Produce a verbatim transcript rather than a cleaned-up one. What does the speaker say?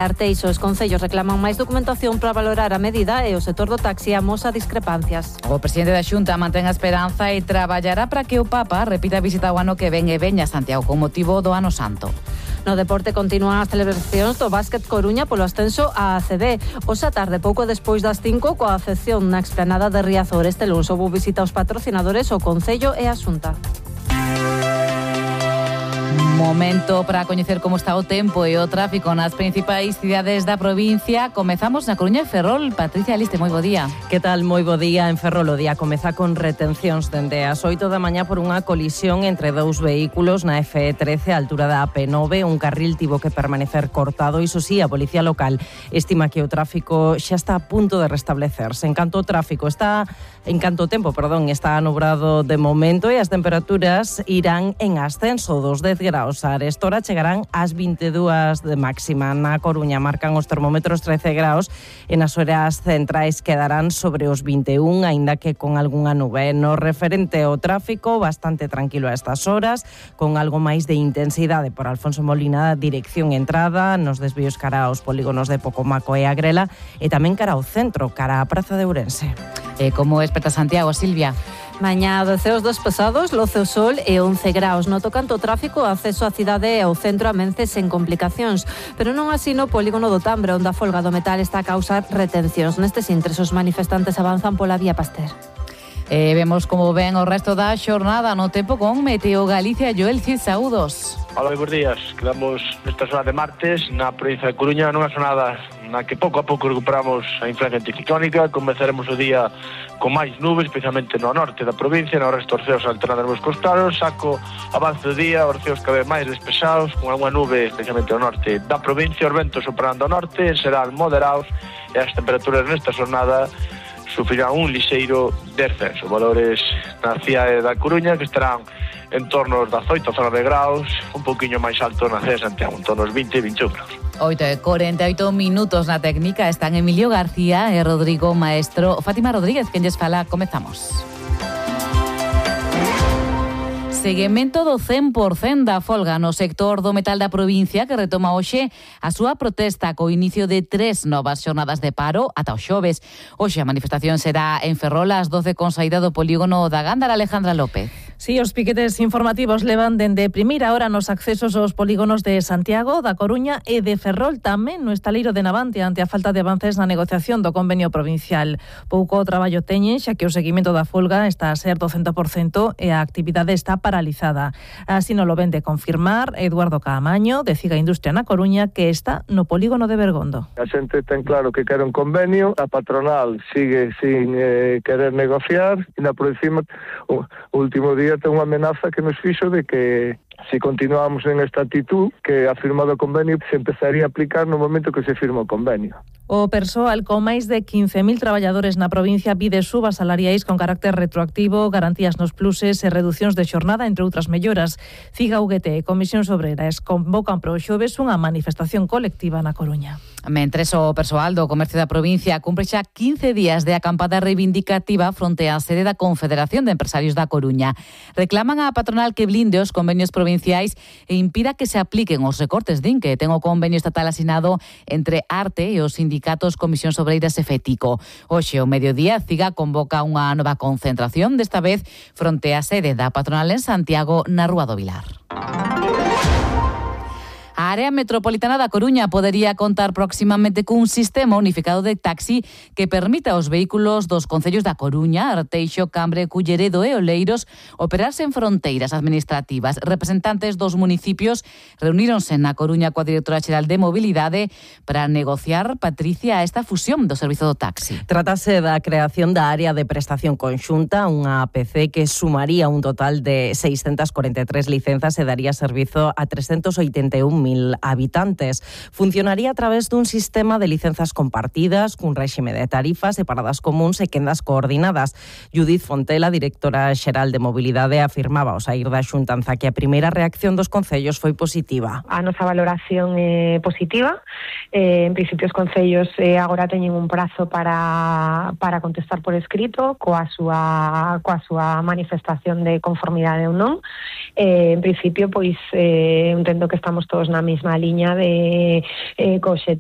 Arteixo, os concellos reclaman máis documentación para valorar a medida e o sector do taxi amosa discrepancias. O presidente da Xunta mantén a esperanza e traballará para que o Papa repita a visita o ano que ven e veña a Santiago con motivo do Ano Santo. No deporte continúan as celebracións do Básquet Coruña polo ascenso á A C B. Hoxe a tarde, pouco despois das cinco, coa afección na explanada de Riazor. Este luns houbo visita aos patrocinadores, o Concello e a Xunta. Momento para coñecer como está o tempo e o tráfico nas principais cidades da provincia. Comezamos na Coruña e Ferrol. Patricia Aliste, moi bo día. Que tal? Moi bo día. En Ferrol o día comeza con retencións dende as oito da mañá por unha colisión entre dous vehículos na F E trece a altura da A P nove. Un carril tivo que permanecer cortado. Iso sí, a Policía Local estima que o tráfico xa está a punto de restablecerse. En canto o tráfico está, en canto o tempo, perdón, está nubrado de momento e as temperaturas irán en ascenso dos dez graus. A Arestora chegarán ás vinte e dúas de máxima. Na Coruña marcan os termómetros trece graus e nas horas centrais quedarán sobre os vinte e un, aínda que con algunha nube. No referente ao tráfico, bastante tranquilo a estas horas, con algo máis de intensidade por Alfonso Molina, dirección entrada, nos desvíos cara aos polígonos de Pocomaco e Agrela, e tamén cara ao centro, cara á Praza de Ourense. E como espeta Santiago, Silvia? Mañá de ceos despesados, loce o sol e once graus. No tocante ao tráfico, o acceso á cidade e ao centro amense sen complicacións, pero non así no polígono do Tambre, onde a folga do metal está a causar retencións. Nestes intres, os manifestantes avanzan pola vía Pasteur. E vemos como ven o resto da xornada no tempo con Meteo Galicia. Joel Cid, saúdos. Hola, moi bons días. Quedamos nesta zona de martes na provincia de Coruña nunha xornada na que pouco a pouco recuperamos a influencia anticiclónica. Comezaremos o día con máis nubes, especialmente no norte da provincia, no resto dos ceos alternando os costados. Saco avance do día, os ceos cada vez máis despesados, con algunha nube, especialmente no norte da provincia, os ventos soprando ao norte, serán moderados e as temperaturas nesta xornada sufrirán un lixeiro descenso. Valores na cidade da Coruña que estarán en torno aos dezoito, dezanove graus, un pouquiño máis alto na cidade de Santiago, en torno aos vinte, vinte e un graus. oito e corenta e oito minutos na técnica están Emilio García e Rodrigo Maestro. Fátima Rodríguez, quen lles fala, comezamos. Seguimento do cen por cento da folga no sector do metal da provincia que retoma hoxe a súa protesta co inicio de tres novas xornadas de paro ata o xoves. Hoxe a manifestación será en Ferrol ás doce con saída do polígono da Gándara. Alejandra López. Sí, os piquetes informativos levan dende primeira hora nos accesos aos polígonos de Santiago, da Coruña e de Ferrol, tamén no estaleiro de Navantia, ante a falta de avances na negociación do convenio provincial. Pouco traballo teñen, xa que o seguimento da folga está a ser do cen por cento e a actividade está paralizada. Así non lo ven de confirmar Eduardo Caamaño, de Ciga Industria na Coruña, que está no polígono de Bergondo. A xente ten claro que quere un convenio, a patronal sigue sin eh, querer negociar, e na por encima o último día ten unha amenaza que nos fixo de que se continuamos en esta actitud, que a firma do convenio se empezaría a aplicar no momento que se firma o convenio. O persoal con máis de quince mil traballadores na provincia pide subas salariais con carácter retroactivo, garantías nos pluses e reducións de xornada, entre outras melloras. Ciga U G T e Comisións Obreras convocan para o xoves unha manifestación colectiva na Coruña. Mentres o persoal do comercio da provincia cumpre xa quince días de acampada reivindicativa fronte á sede da Confederación de Empresarios da Coruña. Reclaman á patronal que blinde os convenios provinciais e impida que se apliquen os recortes din que ten o convenio estatal asinado entre Arte e os sindicatos Comisións Obreiras e FETICO. Hoxe, ao mediodía, Ciga convoca unha nova concentración, desta vez fronte á sede da patronal en Santiago, na Rúa do Vilar. A área metropolitana da Coruña podería contar próximamente cun sistema unificado de taxi que permita aos vehículos dos concellos da Coruña, Arteixo, Cambre, Culleredo e Oleiros operarse en fronteiras administrativas. Representantes dos municipios reuníronse na Coruña coa directora xeral de Mobilidade para negociar, Patricia, esta fusión do servizo do taxi. Trátase da creación da área de prestación conxunta, unha A P C que sumaría un total de seiscentas corenta e tres licenzas e daría servizo a trescentos oitenta e un mil habitantes. Funcionaría a través dun sistema de licenzas compartidas, cun réxime de tarifas e paradas comuns e quendas coordinadas. Judith Fontela, directora xeral de Mobilidade, afirmaba ao saír da xuntanza que a primeira reacción dos concellos foi positiva. A nosa valoración é positiva. Eh, en principio, os concellos eh, agora teñen un prazo para, para contestar por escrito coa súa, coa súa manifestación de conformidade ou non. Eh, en principio, pois, eh, entendo que estamos todos na mesma liña de eh, co obxectivo